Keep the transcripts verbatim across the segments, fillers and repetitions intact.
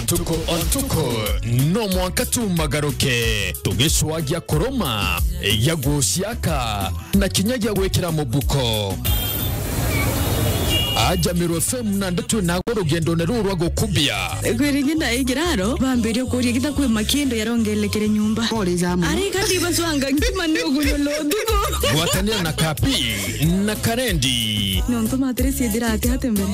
Tuko o ntuku, no mwanka tumagaruke, tugicwagia kuruma, ya guciaka, na kinya gia gwikira mubuko. Aja Meru F M na ndeto nago rugendone ruru rwa gukubia. Kwiri ngi ndaikiraro, bambirie kuria gita kwi makindo yarongelekere nyumba. Ari kati bacwanga nkima ni ugunyulo ntuku. Gwatanira na Kapi na Karendi. Nontu matire ciithira ati ati mbere.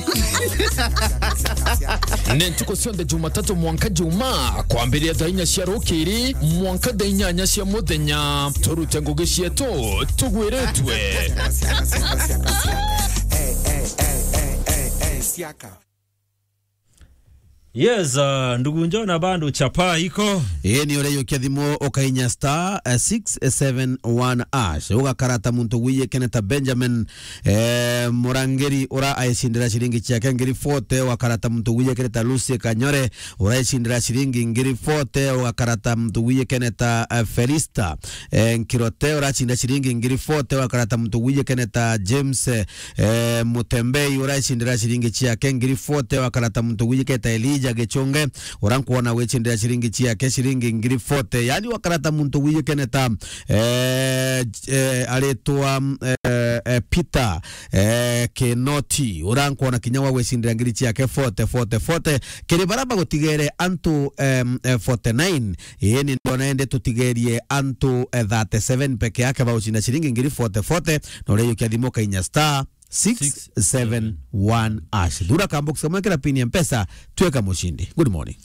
Ni ntuku cionthe Jumatatu mwanka Juma, kwambiria thaa inya cia rukiri mwanka thaa inyanya cia muthenya. Turute ngugi cietu tugwiritwe. Yes, uh, ndugu Njona, bado chapa iko. Ii ni ureyukia thimu ukainya star, eh, six seven one hash. Ugakara ta muntu wiyikene ta Benjamin, eh, Murangiri, ura aicindira ciringi ciake ngiri forty. Ugakara ta muntu wiyikene ta Lucy Kanyore, ura aicindira ciringi ngiri forty. Ugakara ta muntu wiyikene ta, eh, Felista, eh, Nkirote, uracinda ciringi ngiri forty. Ugakara ta muntu wiyikene ta James, eh, eh, Mutembei, uraicindira ciringi ciake ngiri forty. Ugakara ta muntu wiyikene ta Elijah Gichunge, ura nkwona wicindira ciringi ciake ciringi ngiri forty. Yani, ugakara ta muntu wiyikene ta, eh, eh, aritwa, eh, eh, Peter, eh, Kinoti, ura nkwona kinya wa gwicindira ngiri ciake forty, forty, forty. Kiri bara bagutigere antu, em, eh, forty-nine. Ii, ni ndona indi tutigerie antu, eh, thirty-seven peke yake baucinda ciringi ngiri forty, forty, na ureyukia thimu ukainya star six seven one hash. Thura kambox kamwe kira pin ya Mpesa, tweka mucindi. Good morning.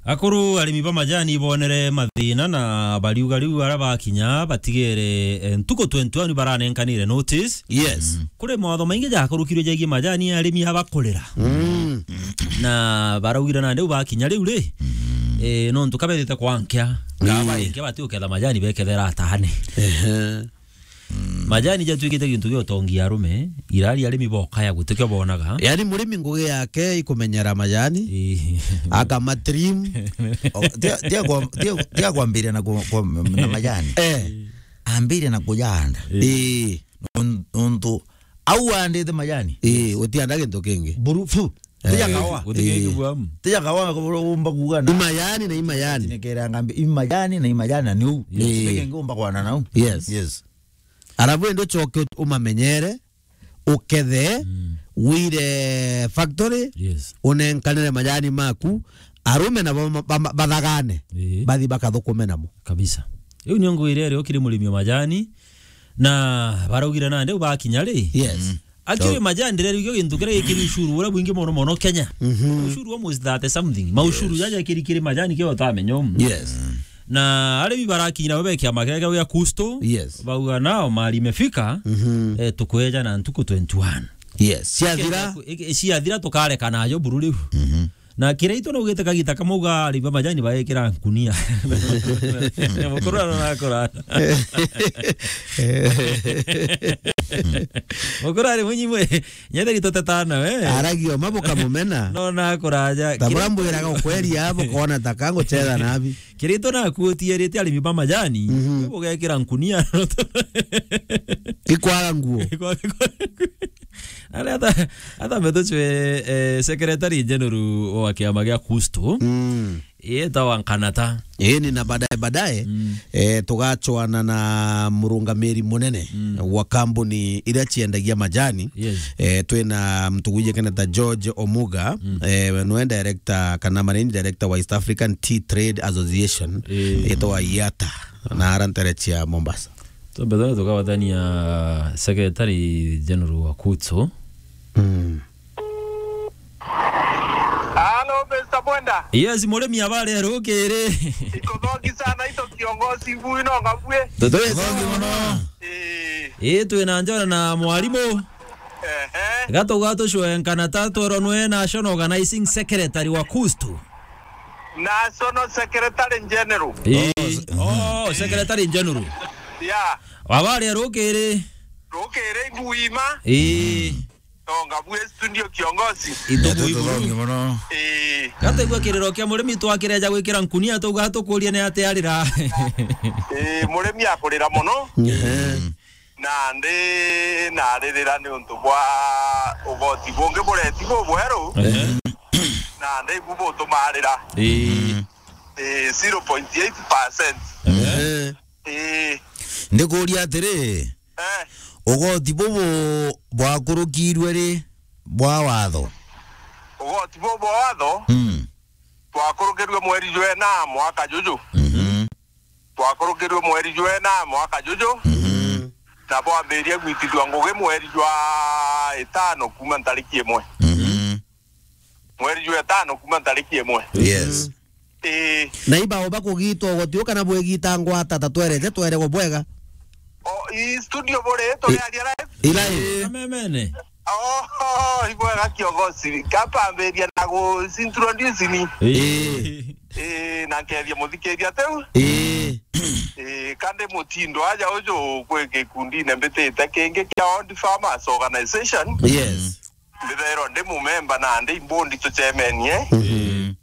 Akuru arimi ba majani ibonere mathina na bariuga riu ara bakinya batigere, eh, ntuku twenty-one baranenkanire notice. Yes. Kuri mawatho maingi jakurukirwe jegie majani arimi abakurira. Mm. Na baraugire nandi u bakinya riu ri, eh, nontu kabethite kwankia, mm, ngaba inke bati uketha majani bekethera atane. Ehe. Majani jatuikite gintu gia utongi arume, irari arimi bokaya gutikio bonaga. Yani murimi ngugi yake ikumenyera majani, ii, akamatrim. O, tia, tia kwa, tia, tia kwambiria na ku-, kwa, na majani. Eh. Ambiria na kujanda. Ii. Ii. Nontu au andite majani. Ii, utianda gintu kingi. Buru, fu. Eh. Tija kawa. Guti kingi, ii, bwamu. Tija kawa umba kuga na. Imajani na imajani. Nikera ngambi imajani na imajani na niu. Yes. Ii. Kingi umba kwana nau. Yes. Yes. Arabu endo choke umamenyere, ukethe, mm, wire factory, yes, unenkanire majani maku, arume nabo ma-, ba-, ba-, bathagane, ii, bathi bakathukume namo. Kabisa. Iu nio ngwire rio kiri murimi wa majani, na baraugire nandi u bakinya ri. Yes. Mm. Actually, so, majani ndire rio gintu kiria gikiri ushuru uria bwingi mono mono Kenya. Mhm. Ushuru almost thirty something. Maushuru, yes, jaja kiri kiri majani kio utamenya umu. Yes. Na arimi barakinyira bo be kiama kiria gia Kusto. Yes. Bauga nao mali imefika, mhm, eh, tukweja na ntuku twenty-one. Yes. Ciathira. Ke-, ke-, ciathira tukareka najo buru riu. Mhm. Na kiria itu naugite kagita kamwe uga arimi ba majani baekira nkunia. Mukuru arona akora. Mukuru ari munyi mwe. Nyetheri tutetana we. Aragia uma bukamumena. No na kuraja. Ta bura mbwiraga ukweria abo kona ta kanguchetha nabi. Kirito naku utiarite arimi ba majani, mhm, bugekira nkunia. Ikwaga nguo. Ari ata, ata metuchwe, eh, Secretary General wa kiama gia Kusto. Mm. Yetawa Nkanata. Ii, ni na baadaye, baadaye, mm, eh, tugachoana na murungamiri munene, mm, wa kambuni iria ciendagia majani. Yes. Eh, twina mtu wijikene ta George Omuga, mm, eh, we niwe director kana managing director wa East African Tea Trade Association, ii, yetwa IATA, na ara ntere cia Mombasa. Tumbe turia tukawatania Secretary General wa Kusto. Mm. Halo, Mister Mwenda. Yes, murimi, habari ya rukiri? Iko thongi sana, ito kiongozi, mbuyu no ngabue. Tutu thongi muno. Eh. Ii, twina njora na mwarimu. Ehe. Gatu gatu cwenkana ta twero nwe National Organizing Secretary wa Kustu. National Secretary General. Ii. Oh, s-, oh, Secretary General. Yeah. Habari ya rukiri? Rukiri nguima. Ii. Tonga bwe studio kiongozi. Itu bui buru. Ii. Gataigua kiriro kia murimi twakireja gwikira nkunia tuga tukurie ni ate arira. Ii, murimi akurira muno. Ehe. Nandi naririra ni untu bwa ugoti bungi bureti bubweru. Ehe. Na ndaibu butumarira. Ii. Ii, zero point eight percent. Eh. Ii. Ndikuria atiri, eh, ugoti bubu bwakurukirwe ri bwa watho? Ugoti bubu bwa watho, mm, twakurukirwe mweri jwa ina mwaka juju. Mhm. Twakurukirwe mweri jwa ina mwaka juju. Mhm. Na bwambirie gwitithua ngugi mweri jwa itano kuma ntariki imwe. Mhm. Mweri jwa itano kuma ntariki imwe. Yes. Ii. Na ibao bakugitwa ugoti u kana bwigita ngwata ta twerete twerego bwega? O, i studio buri, turiaria live? I live. Kamemene. Oh, ibwega kiongozi. Kapambiria na gu introduce ni. Ii. Ii, na nkethia muthikiria tiu. Ii. Ii, kandi mutindo aja uju kwi gikundine mbitite kingi kia Old Farmers Organization. Yes. Mbithairwa ndi mumemba na ndi imbundi tucemenie. Mhm.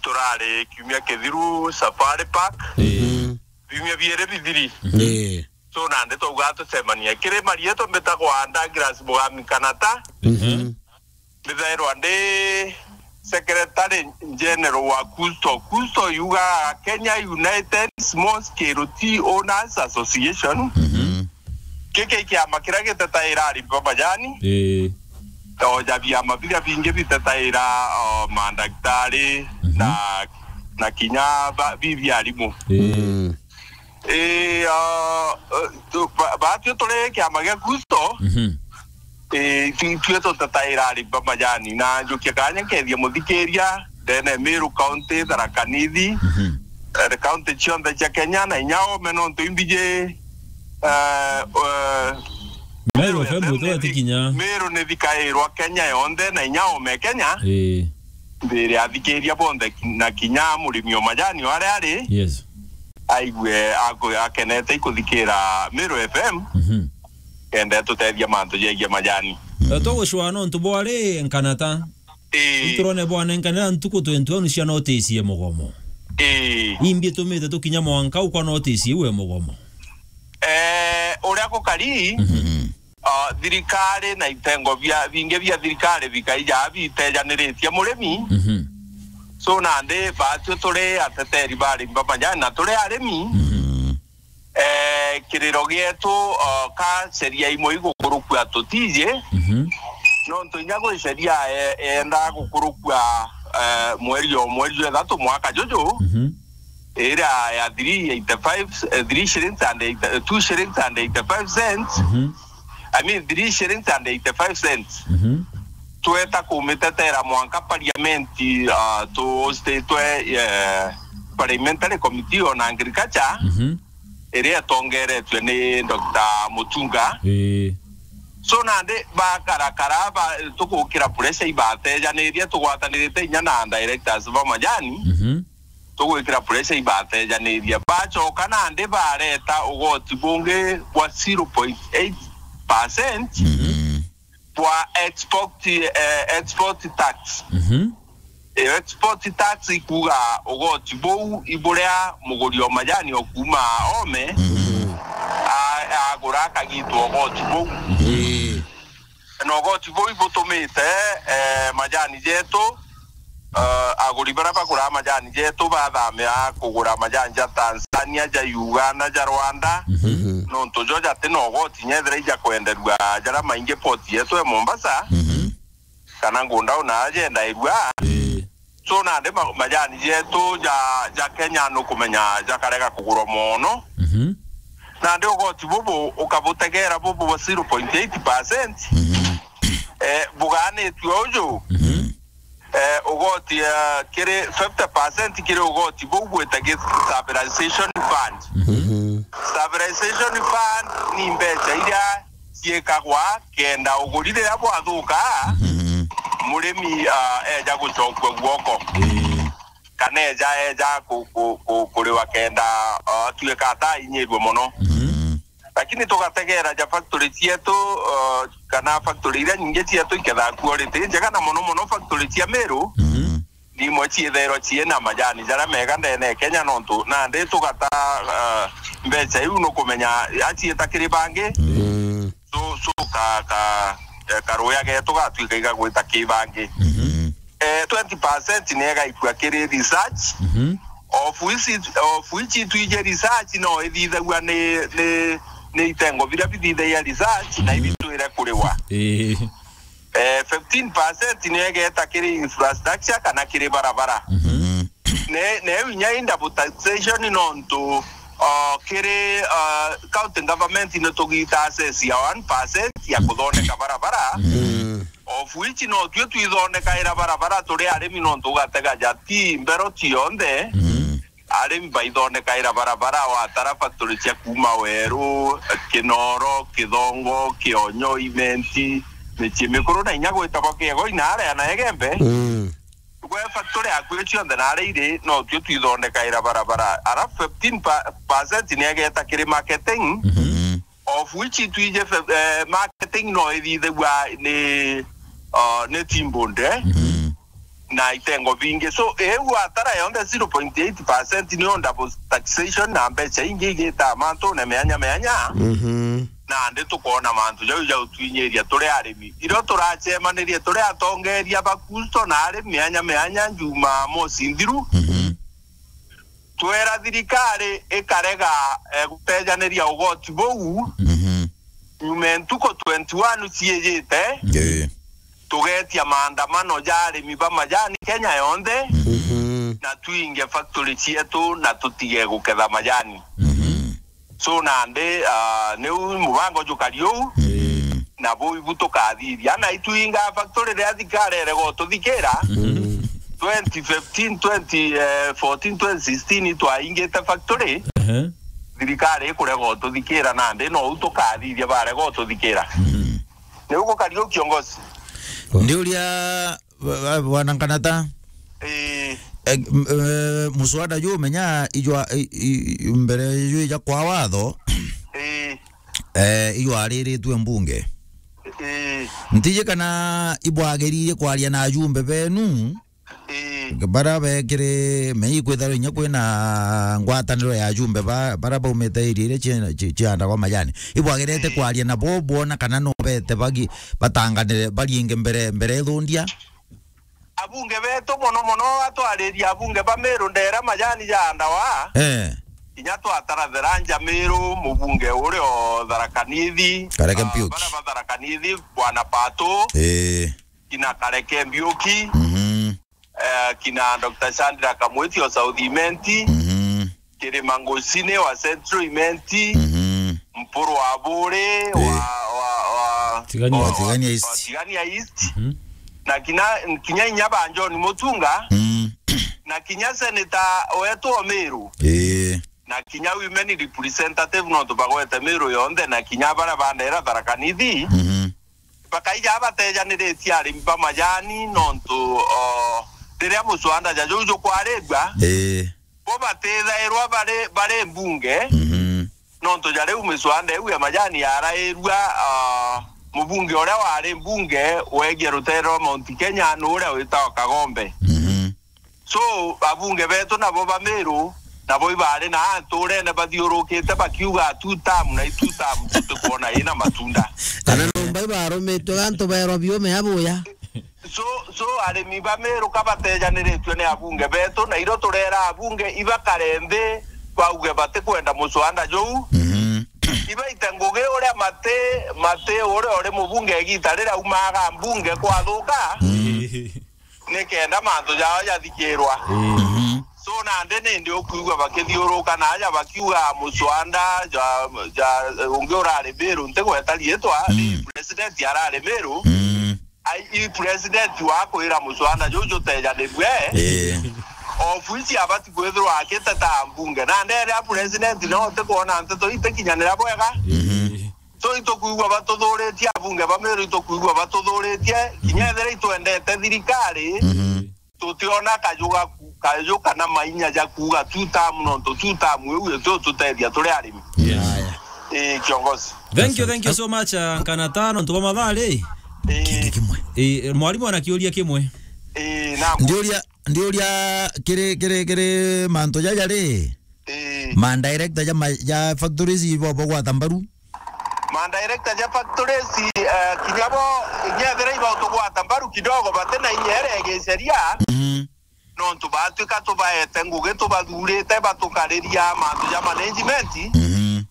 Turari kiumia kithiru Safari Park. Mhm. Biumia biiri bithiri. Mhm. Ii. So nandi twauga tucemanie. Kiri marietwa mbitagwa Douglas Mugami Kanata. Mhm. Mbithairwa ndi Secretary General wa KUSTO. KUSTO yugaga Kenya United Small Scale Tea Owners Association. Mhm. Giki i kiama kiria gitetaira arimi ba majani. Ii. O ja biama biria bingi bitetaira, o, mandagitari, mhm, na, na kinya ba-, bibi arimu. Ii. Mm. Ii, o, o, tu-, ba-, batwi turi kiama gia KUSTO. Mhm. Ii, tu-, twi tutetaira arimi ba majani. Na njukia kanya nkethia muthikiria, ndene Meru County, Tharaka Nithi, mhm, eh, county cionthe cia Kenya, na inya ome nontu imbiji, eh, eh, Meru F M F M ni thi-, tikinya. Meru ni thikairwa Kenya yonthe, na inya ome Kenya. Ii. Mbiri athikiria bonthe ki-, na kinya murimi o majani o aria ari, yes, aigue aku-, akenete ikuthikira Meru F M, mhm, kenda tutethia mantu jegie majani. Eh, tugucwaa nontu bwari nkanata. Ii. Iturone bwanenkanira ntuku twenty-one cia notice ya mugomo. Ii. Imbi itumite tukinya mwanka u kwa notice iu ya mugomo? Eh, uria gukari, mhm, ah, thirikari na itengo bia, bingi bia thirikari bikaija bitejaniritie murimi. Mhm. So nandi batwi turi ateteri ba arimi ba majani na turi arimi. Mhm. Eh, kiriro gietu, o, ka sheria imwe igukurukua tutiji. Mhm. Nontu inya gwi sheria, eh, yenda gukurukua, eh, mweri o mweri jwa ithatu mwaka juju, mhm, iria ya three eighty-five, eh, three shillings and eighty, two shillings and eighty-five cents. Mhm. I mean, three shillings and eighty-five cents. Mhm. Tweta kumitetera mwanka parliament, ah, tu hostitwe, eh, parliamentary committee on agriculture. Mhm. Iria itongeretue ni Doctor Mutunga. Ii. So nandi bakarakara ba, tugukira pressure ibatejanirie, tugwatanirite inya na directors ba majani. Mhm. Tugwikira pressure ibatejanirie. Bacoka nandi bareta ugoti bungi bwa zero point eight percent. Mhm. Bwa export, eh, export tax. Mhm. Eh, export tax ikuga ugoti buu iburia muguri o majani o kuuma ome, mhm, a-, agura akagitwa ugoti buu. Mhm. Na ugoti buu ibutumite, eh, majani jetu, eh, aguri baria bagura majani jetu bathamia kugura majani ja Tanzania, ja Uganda, ja Rwanda, mhm, nontu jo jati na ugoti nyethira ija kwenderua jaria maingi port yetu e Mombasa. Mhm. Kana ngunda una ajendairua. Ii. So nandi ma-, majani jetu ja, ja Kenya nukumenya jakarega kugurwa mono. Mhm. Nandi ugoti bubu ukabutegera bubu bwa zero point eight percent. Mhm. Eh, buganitue uju. Mhm. Eh, ugoti, eh, kiri fifty percent kiri ugoti buu gwita gi stabilization fund. Mhm. Stabilization fund ni mbeca iria ciikagwa kenda uguri riria bwathuka, mhm, murimi, ah, eja gucokua guoko. Ii. Kana eja, eja ku-, ku-, ku-, kuriwa kenda, ah, atuika atainyirue mono. Mhm. Lakini tugategera ja factory cietu, ah, kana factory iria nyingi cietu ikethaa quality njega na mono mono factory cia Meru. Mhm. Imwe ciithairwa ciina majani jaria mega ndene ya Kenya, nontu nandi tugata, ah, mbeca iu nukumenya aciita kiri bangi. Mm. So, so ka, ka, eh, karuya getu gatwika igagwita ki bangi. Mhm. eh, twenty percent ni igaikua kiri research, Mhm. of which, of which itwiji research no ithithagua ni, ni, ni itengo biria bithithagia research, na Mhm. ibitwire kuriwa. Ii. Eh, fifteen percent ni igeta kiri infrastructure kana kiri barabara. Mhm. Ne, ne inya i double taxation nontu, uh, kiri, uh, county government ni tugita assess ya one percent ya kuthondeka barabara. Mhm. Of which no tue twithondekaira barabara turi arimi nontu ugatega ja ti mbero cionthe. Mhm. Arimi baithondekaira barabara watara factory cia kuuma Weru, Kinoro, Kithongo, Kionyo, Imenti, Micii Mikuru na inya gwitagwa Kiego inaria na Egembe. Mm. Gwe factory yaku cionthe naria iri, no tue twithondekaira barabara. Arafu fifteen percent ni egeta kiri marketing, Mhm. of which itwiji fe-, eh, marketing no ithithagua ni, uh, ni Timbunde. Mhm. Na itengo bingi. So, iu atara yonthe zero point eight percent ni on double taxation na mbeca ingi igita mantune mianya mianya. Mhm. Nandi tukoona mantu jau ja utwinyiria turi arimi. Irio turacemanirie turi atongeria ba kusto na arimi mianya mianya Jumamosi nthiru. Mhm. Twera thirikari ikarega, eh, gutejaniria ugoti buu. Mhm. Nyuma ntuku twenty-one ciijite, Ii. tugetia maandamano ja arimi ba majani Kenya yonthe, Mhm. na twinge factory cietu na tutige guketha majani. Mhm. So nandi, ah, niu mubango jukari uu, Mm. na buu ibu tukathithia. Na itwinga factory riria thirikari erega ututhikira, Mm. twenty fifteen, twenty, eh, fourteen, twenty sixteen twaingite factory, Ehe. thirikari ikurega ututhikira nandi, nou tukathithia barega ututhikira. Mm. Niu gukari uu kiongozi. Ndiuria, wa-, wa-, bwana Nkanata. Ii. Eh, m-, eh, muswada juu menya ijwa, i-, i-, mbere juu ija kwa watho. Ii. Eh, ijwariritue mbunge. Ii. Ntiji kana ibwagiririe kwaria na ajumbe benu. Ii. Bara bekire mei kwithirwa inya kwina ngwataniro ya ajumbe ba-, bara baumite area iria cie-, cie-, ciandagwa majani. Ibwagirite Ii. kwaria nabo bwona kana no bete bagi-, batanganire barienge mbere, mbere ithundia? Abunge betu mono mono atwariria abunge ba Meru ndera majani jaandawa. Eh. Kinya twatara Tharanja Meru, mubunge uria o Tharaka Nithi, Kareke ah, Mpiuki. Bara ba Tharaka Nithi, Bwana Pato, Eh. kina Kareke Mbiuki, Mhm. eh, kina Doctor Sandra Kamwiti o South Imenti, Mhm. Kirima Ngocine wa Central Imenti, Mhm. Mpuru wa Buri wa, Eh. wa, wa, Tigania. Wa, wa Tigania East. Wa Tigania East. Mhm. Na kinya, kinya inya ba John Mutunga, Mm. na kinya senator wetu o Meru. Eh. Na kinya women representative nontu bagwete Meru yonthe, na kinya baria bandera Tharaka Nithi. Mhm. Bakaija batejaniritie arimi ba majani nontu, o, riria muswanda ja juu jukwarigua, Ii. bo batithairwa bari, bari mbunge, Mhm. nontu ja riu miswanda iu ya majani yarairua, a, mubunge uria wari mbunge wegie rutere rwa Mount Kenya ni uria witagwa Kagombe. Mhm. So, abunge betu nabo ba Meru, nabo ibari na anturene bathiurukite bakiuga two term na i two term tutikwona ina matunda. Kana nomba ibarumitwe gantu baerwa biume abuya. So, so arimi ba Meru kabatejaniritue ni abunge betu, na irio turera abunge ibakare nthi bauge batikwenda muswanda juu. Mhm. Ibaite ngugi uria mati, mati uria uri mubunge igita riria aumaga mbunge kwathuka. Mhm. Nikenda mantu jao jathikirwa. Mhm. So nandi nindi ukwigua bakithiuruka na aja bakiuga muswanda ja, ja, ungi urari Meru ntigweta riitwa, ni Mm. president arari Meru. Mm. Ai, i president wa kwira muswanda juu jutejanirue. Eh. Of which abati kwithirwa akiteta mbunge. Na ndere a president no utikwona nteto itikinyanira bwega. Mhm. So itukwigua batuthuritie, abunge ba Meru itukwigua batuthuritie, kinya ethira itwendete thirikari, Mhm. tutiona kaju ga ku-, kaju kana mainya ja kuuga two term nontu two term iu itu tutethia turi arimi. Yes. Aya. Ii, kiongozi. Thank you, thank you so much, uh, Nkanata, nontu bwa mathaa ri. Ii. Kintu kimwe. Ii, mwarimu ana kiuria kimwe. Ii, naam. Ndiuria, ndiuria kiri, kiri, kiri mantu jaja ri? Ii. Ma director ja ma-, ja factories ibo bagwata mbaru? Ma director ja factories, eh, kinya bo, inya ethira ibautugwata mbaru kidogo, bati na inya iria ya giceria, Mhm. nontu batwika tubaete ngugi, tubathurite, batukariria mantu ja management. Mhm.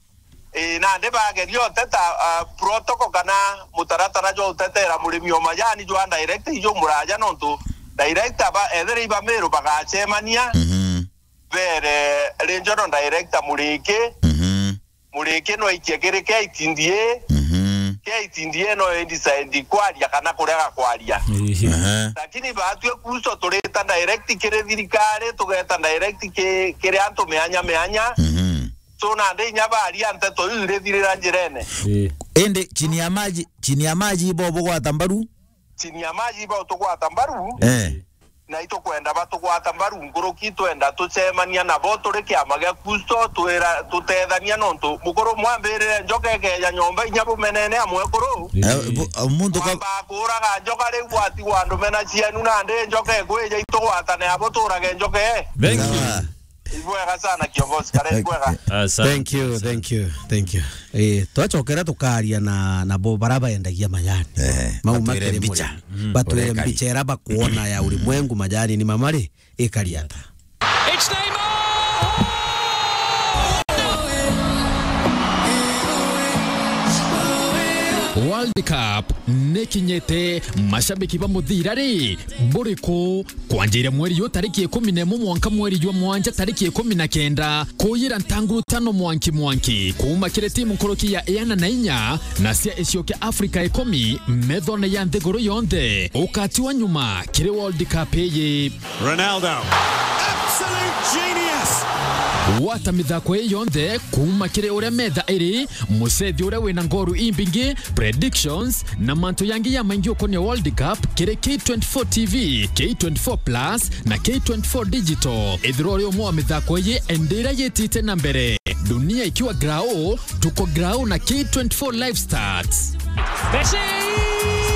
Ii, nandi bageria uteta, ah, protocol kana mutaratara jwa utetera murimi o majani jwa direct ijo muraja, nontu director ba, ethira iba Meru bagacemania, Mhm. bere regional director Muriki, Mhm. Muriki no aikie kiri K T D A, Mhm. K T D A no i decide kwaria kana kurega kwaria. Ehe. Aha. Lakini batwi Kusto turita direct kiri thirikari, tugeta direct ki-, kiri antu mianya mianya. Mhm. So nandi inya baria nteto iu irithirira njirene. Ii. Indi chini ya maji, chini ya maji ibo bugwata mbaru? Chini ya maji ibo tugwata mbaru. Eh. Na itukwenda batugwata mbaru nkuruki, twenda tucemania nabo turi kiama gia Kusto, twira, tutethania, nontu mukuru mwambirire njoka ikeja nyomba inya bumenene a mwekuru. Eh, bu-, muntu ka- Kwamba kuuraga njoka riu bwatigwa andu mena cienu, nandi njoka ikwija itugwatane abo tuurage njoka ii. Thank you. Sawa. Ibwega sana kiongozi, kare ibwega. Asante. Thank you, thank you, thank you. Eh, twacokera tukaria na, na bo bara baendagia majani. Eh, mau batwire makiri mbicha. Murimi. Mm. Batwire Urekari. Mbicha ira bakuona ya ulimwengu majani ni mamari ikari ata. It's Neymar! World Cup nikinyite, mashabiki ba muthira ri, buriku? Kwanjiria mweri yu tariki ikumi na imwe mwanka mweri jwa mwanja tariki ikumi na kenda, kuyira ntanguru tano mwanki mwanki, kuuma kiri timu nkuruki ya iana na inya na cia icio kia Afrika ikumi, methone ya nthiguru yonthe. Ukatiwa nyuma kiri World Cup iyi. Ronaldo. Absolute genius. Gwata mithako ii yonthe kuuma kiri uria metha iri, mucethi uria wina ngoru imbingi, predictions, na mantu yangi ya maingi ukonia World Cup kiri K twenty-four T V, K twenty-four Plus, na K twenty-four Digital. Ithirwa uri umwe wa mithako iyi, indi iria yitite na mbere. Dunia ikiwa grao, tuko grao na K twenty-four Live Stats. Messi!